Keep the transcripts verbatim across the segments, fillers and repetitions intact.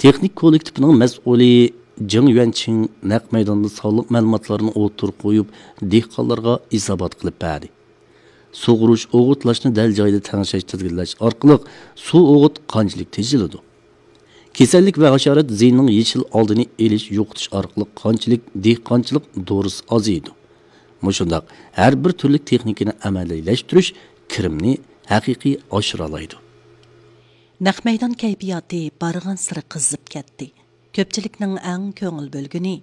تېخنىك كوللېكتىپىنىڭ مەسئۇلى جېڭ يۈەنچىڭ نەق مەيداندا سانلىق مەلۇماتلارنى ئوتتۇرىغا قويۇپ، دېھقانلارغا ھېسابات قىلىپ بەردى. سۇغۇرۇش، ئوغۇتلاشنى دەل جايىدا تەڭشەش، تىزگىنلەش ئارقىلىق سۇ، ئوغۇت قانچىلىك تېجىلىدۇ؟ كېسەللىك ۋە ھاشارات زىيىنىنىڭ يېشىل ئالدىنى ئېلىش، يوقىتىش ئارقىلىق قانچىلىك دېھقانچىلىق دورىسى ئازىيىدۇ؟ مۇشۇنداق ھەر بىر تۈرلۈك تېخنىكىنى ئەمەلىيلەشتۈرۈش كىرىمنى ھەقىقىي ئاشۇرالايدۇ. نەق مەيدان كەيپىياتى بارغانسېرى قىزىپ كەتتى. كۆپچىلىكنىڭ ئەڭ كۆڭۈل بۆلگىنى،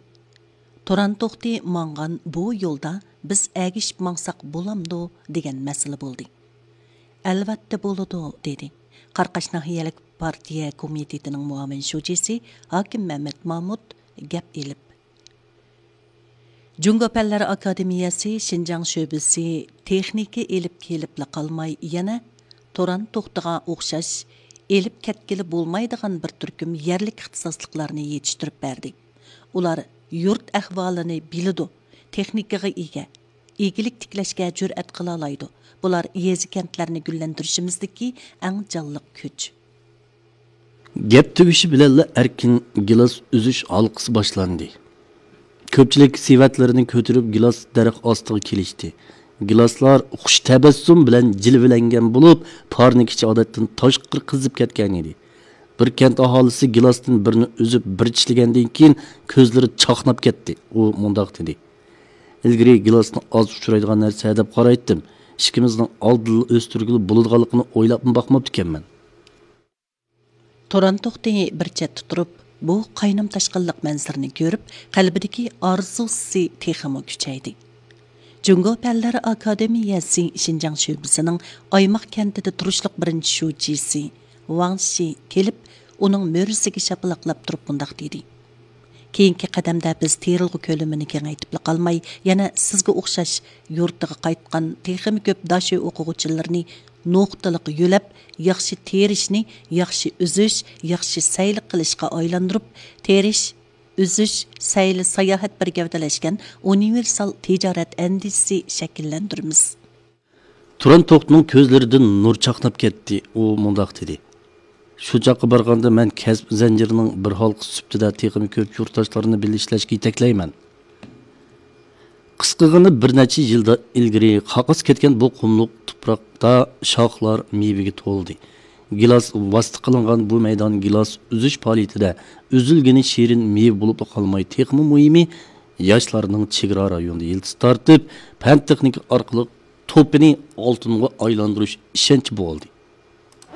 تۇران توختى ماڭغان بۇ يولدا بىز ئەگىشىپ ماڭساق بولامدۇ دېگەن مەسىلە بولدى. ئەلۋەتتە بولىدۇ، دېدى قاراقاش ناھىيەلىك پارتىيە كومىتېتىنىڭ مۇئاۋىن شۇجىسى ھاكىم مەمەت مامۇت گەپ ئېلىپ. جۇڭگو پەنلەر ئاكادېمىيەسى شىنجاڭ شۆبىسى تېخنىكا ئېلىپ كېلىپلا قالماي، يەنە تۇران توختىغا ئوخشاش ئېلىپ كەتكىلى بولمايدىغان بىر تۈركۈم يەرلىك ئىختىساسلىقلارنى يېتىشتۈرۈپ بەردى. ئۇلار يۇرت ئەھۋالىنى بىلىدۇ، تېخنىكىغا ئىگە، ئىگىلىك تىكلەشكە جۈرئەت قىلالايدۇ. بۇلار يېزا-كەنتلەرنى گۈللەندۈرۈشىمىزدىكى ئەڭ جانلىق كۈچ. گەپ تۈگىشى بىلەنلا ئەركىن گىلاس ئۈزۈش ھالقىسى باشلاندى. كۆپچىلىك سېۋەتلىرىنى كۆتۈرۈپ گىلاس دەرەخ ئاستىغا كېلىشتى. گىلاسلار خۇش تەبەسسۇم بىلەن جىلۋىلەنگەن بولۇپ، پارنىك ئىچى ئادەتتىن تاشقىرى قىزىپ كەتكەن ئىدى. بىر كەنت ئاھالىسى گىلاستىن بىرنى ئۈزۈپ بىر چىشلىگەندىن كېيىن كۆزلىرى چاقناپ كەتتى. ئۇ مۇنداق دېدى: «ئىلگىرى گىلاسنى ئاز ئۇچرايدىغان نەرسە دەپ قارايتتىم. ئىككىمىزنىڭ ئالدىنلا ئۆستۈرگىلى بولىدىغانلىقىنى ئويلاپمۇ باقماپتىكەنمەن.» تۇران توختى بىر چەتتە تۇرۇپ، بۇ قاينام تاشقىنلىق مەنزىرىنى كۆرۈپ، قەلبىدىكى ئارزۇسى تېخىمۇ كۈچەيدى. جۇڭگو پەنلەر ئاكادېمىيەسى شىنجاڭ شۆبىسىنىڭ ئايماق كەنتىدە تۇرۇشلۇق بىرىنچى شۇجىسى ۋاڭ شى كېلىپ، ئۇنىڭ مۈرىسىگە شاپىلاقلاپ تۇرۇپ مۇنداق دېدى: «كېيىنكى قەدەمدە بىز تېرىلغۇ كۆلىمىنى كېڭەيتىپلا قالماي، يەنە سىزگە ئوخشاش يۇرتىغا قايتقان تېخىمۇ كۆپ داشۆ ئوقۇغۇچىلىرىنى نۇقتىلىق يۆلەپ، ياخشى تېرىشنى ياخشى ئۈزۈش، ياخشى سەيلە قىلىشقا ئايلاندۇرۇپ، تېرىش، ئۈزۈش، سەيلە، ساياھەت بىر گەۋدىلەشكەن ئۇنىۋېرسال تىجارەت ئەندىزىسى شەكىللەندۈرىمىز.» تۇران توختىنىڭ كۆزلىرىدىن نۇر چاقناپ كەتتى. ئۇ مۇنداق دېدى: «شۇ چاغقا بارغاندا مەن كەسىپ زەنجىرىنىڭ بىر ھالقىسى سۈپىتىدە تېخىمۇ كۆپ يۇرتداشلارنى بىللە ئىشلەشكە يېتەكلەيمەن.» قىسقىغىنە بىر نەچچە يىلدا ئىلگىرى قاقاس كەتكەن بۇ قۇملۇق تۇپراقتا شاخلار مېۋىگە تولدى. گىلاس ۋاسىتە قىلىنغان بۇ مەيدان گىلاس ئۈزۈش پائالىيىتىدە ئۈزۈلگىنى شېرىن مېۋە بولۇپلا قالماي، تېخىمۇ مۇھىمى، ياشلارنىڭ چېگرا رايونىدا يىلتىز تارتىپ، پەن-تېخنىكا ئارقىلىق توپىنى ئالتۇنغا ئايلاندۇرۇش ئىشەنچى بولدى.